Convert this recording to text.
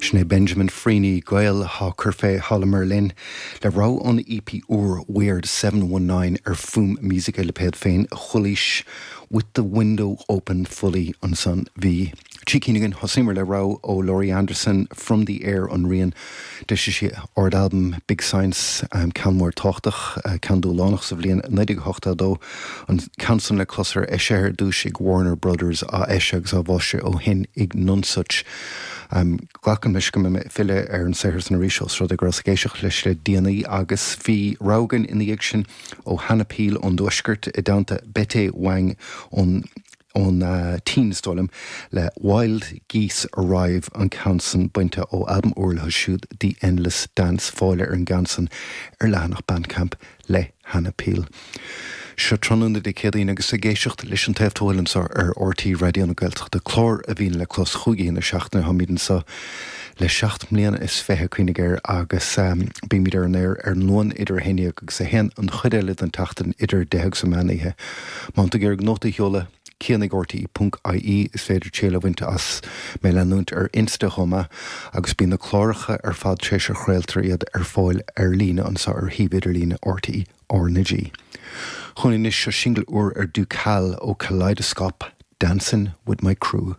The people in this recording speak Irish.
Sin é Benjamin Freaney, Gael atá ag cur fé thall i mBerlin, le rogha ón EP úr Weird 719 ar Foom Music a lipéad féin, Chuilís With the Window Open Fully ansan. Bhí trí cinn againn, thosaíomar le rogha ó Laurie Anderson, From the Air an rian. D'eisigh sí ard-albam Big Science, ceann mór tábhachtach, ceann dúshlánach sa bhliain 1982. An ceann san le clos ar eisithe ar dtúis ag Warner Brothers, á eisiadh agus á mháistriú ó shin ag Nonesuch. Glacaim leis go mbeidh mé ag filleadh ar an saothar san arís ós rud é go rabhas ag éisteacht leis le déanaí agus bhí rogha againn ina dhiaidh sin ó Hannah Peel ón dTuaisceart i dteannta Bette Wang ón ón tSín, is dóigh liom, le Wild Geese Arrive, an ceann san bainte ó albam úr leo siúd The Endless Dance, fáil ar an gceann san ar leathanach Bandcamp le Hannah Peel. Seo tráthnóna Dé Céadaoin agus ag éisteacht leis An Taobh Tuathail anseo ar RTÉ Raidió na Gaeltachta, clár a bhíonn le clos chúig oíche na seachtaine. Táimid anseo le 27 mbliana, cuimhnigh air, agus bímid ar an aer ar an Luan idir 11 agus 1, an chuid eile den tseachtain idir 10 agus an meán oíche. Má tá tú ag iarraidh nóta a sheoladh, cian ag rte ponc ie Is féidir triail a bhaint as mé a leanúint ar Insta chomh maith agus bíonn na cláracha ar fad tar éis a chraoltar iad ar fáil ar líne anseo ar shuíomh idirlíne RTÉ RnaG. Chugainn anois seo singil úr ar Ducale ó Kaleidoscope, Dancin' With My Crew.